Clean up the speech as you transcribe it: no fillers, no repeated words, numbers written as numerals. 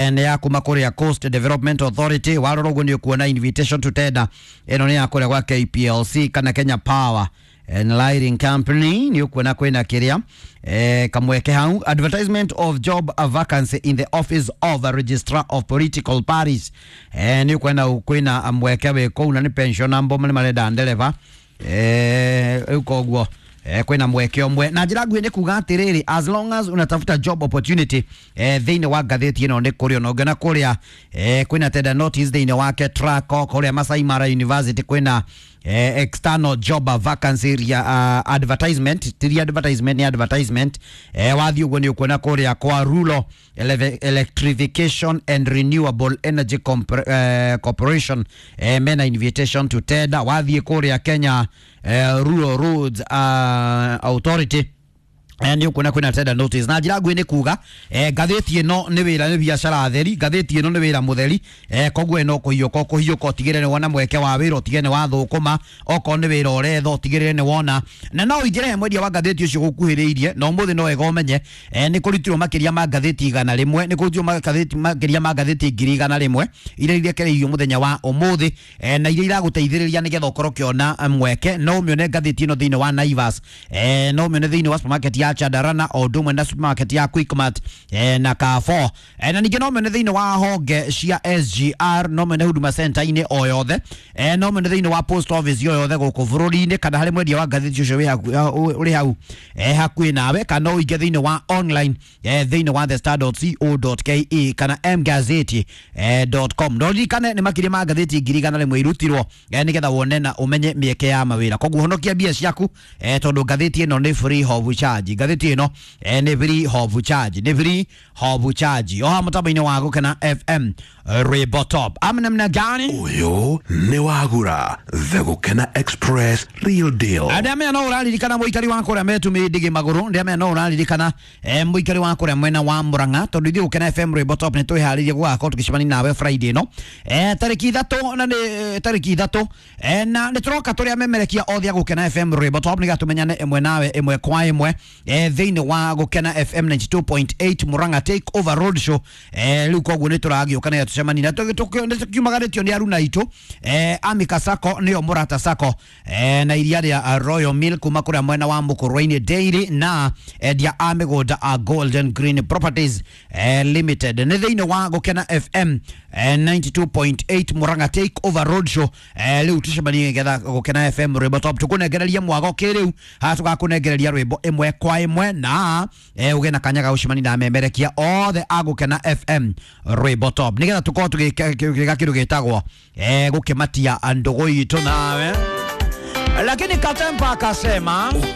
Nĩ ya kuma kũrĩa Coast Development Authority. Warora ũguo nĩ ũkuona invitation to tender ĩno nĩ ya kũrĩa gwa KPLC kana Kenya Power and Lighting Company. Nĩ ũkuona kwĩna kĩrĩa kamweke hau, advertisement of job vacancy in the office of a registrar of political parties. Nĩ ũkuona kwĩna mweke wĩ kũu na nĩ pensioner mbo nĩ marenda ndereba. Rĩu koguo kwĩna mweke ũmwe na njĩra nguhĩ nĩ kuga atĩrĩrĩ, as long as unatafuta job opportunity, thĩinĩ wa ngathĩti ĩno nĩ kũrĩ ona ũngĩona kũrĩa kwĩna tender notice thĩinĩ wake Traco kũrĩa Masai Mara University kwĩna external job vacancy ria, advertisement tiri advertisement ni advertisement. Wathiĩ ũguo nĩ ũkuona kũrĩa kwa Rural Electrification and Renewable Energy Corporation, mena invitation to tender. Wathiĩ kũrĩa Kenya Rural Roads Authority, nĩ ũkuona kwĩna tender notice. Na njĩra nguhĩ nĩ kuga ngathĩti ĩno nĩ wĩra, nĩ biacara theri, ngathĩti ĩno nĩ wĩra mũtheri. Koguo ĩno kũhiũka kũhiũka ũtigĩrĩre nĩ wona mweke wa wĩra, ũtigĩrĩre nĩ wathũkũma, okorwo nĩ wĩra ũretha ũtigĩrĩre nĩ wona. Na no ũingĩre he mwendia wa ngathĩti ũcio gũkuhĩrĩirie. Na ũmũthĩ no wega ũmenye nĩ kũrutirwo makĩria ma ngathĩti 100, nĩ kũrutirwo magathĩti makĩria ma ngathĩti 100,000 iria irekereirio mũthenya wa ũmũthĩ, na iria iragũteithĩrĩria nĩgetha ũkorwo ũkĩona mweke. No ũmĩone ngathĩti ĩno thĩinĩ wa Naivas, no ũmĩone thĩinĩ wa supermarket ya Chandarana o ũndũ ũmwe na supermarket ya Quickmart na Carrefour, na ningĩ no ũmĩone thĩinĩ wa honge cia SGR, no ũmĩone Huduma Center-inĩ o yothe, no ũmĩone thĩinĩ wa post office o yothe gũkũ bũrũri-inĩ kana harĩ mwendia wa ngathĩti ũcio ũrĩ hau hakuhĩ nawe, kana ũingĩ thĩinĩ wa online thĩinĩ wa thestar.co.ke kana mgazeti.com. No ririkane nĩ makĩria ma ngathĩti 100,000 irutirwo nĩgetha wone na ũmenye mĩeke ya mawĩra. Koguo honokia mbia ciaku, tondũ ngathĩti ĩno nĩ free of charge. Ngathĩti ĩno nĩ free of charge, nĩ free of charge. Oha mũtambo-inĩ wa Gũkena FM Rwĩmbo Top amnamna gani. Ũyũ nĩ wagura The Gũkena Express Real Deal. Ndamenya no ũraririkana mũikari wa kũrĩa metumĩ ndigi magũrũ. Ndamenya no ũraririkana mũikari wa kũrĩa mwena wa Murang'a, tondũ ithuĩ Gũkena FM Rwĩmbo Top nĩ twĩharĩirie gũgakorwo tũgĩcemania nawe Friday ĩno tarĩki 3, na nĩ tarĩki 3, na nĩ tũroka tũrĩa memerekia othe a Gũkena FM Rwĩmbo Top nĩgetha tũmenyane ĩmwe nawe ĩmwe kwa ĩmwe thĩinĩ wa Gũkena FM 92.8 Murang'a Take Over Road Show. Rĩu koguo nĩ tũragĩũka nĩgetha tũcemanie na nĩ tũkiumagarĩtio nĩ aruna aitũ Amika Sacco nĩyo Mũrata Sacco, na iria rĩa Royal Mill kuma kũrĩa mwena wa Mũkũrwe-inĩ Dairy na endia a mĩgũnda a Golden Green Properties Limited. Nĩ thĩinĩ wa Gũkena FM 92.8 Murang'a Take Over Road Show. Rĩu tũcemanie nĩgetha Gũkena FM Rwĩmbo Top tũkũnengereria mwago kĩrĩu haha, tũgakũnengereria rwĩmbo ĩmwe kwa ĩmwe na ũgĩe na kanya ga gũcemania na amemerekia othe a Gũkena FM Rwĩmbo Top nĩgetha tũkorwo tũgĩka kĩndũ gĩtagwo gũkĩmatia ndũgũ itũ nawe. Lakini Katempa akasema Ukiwa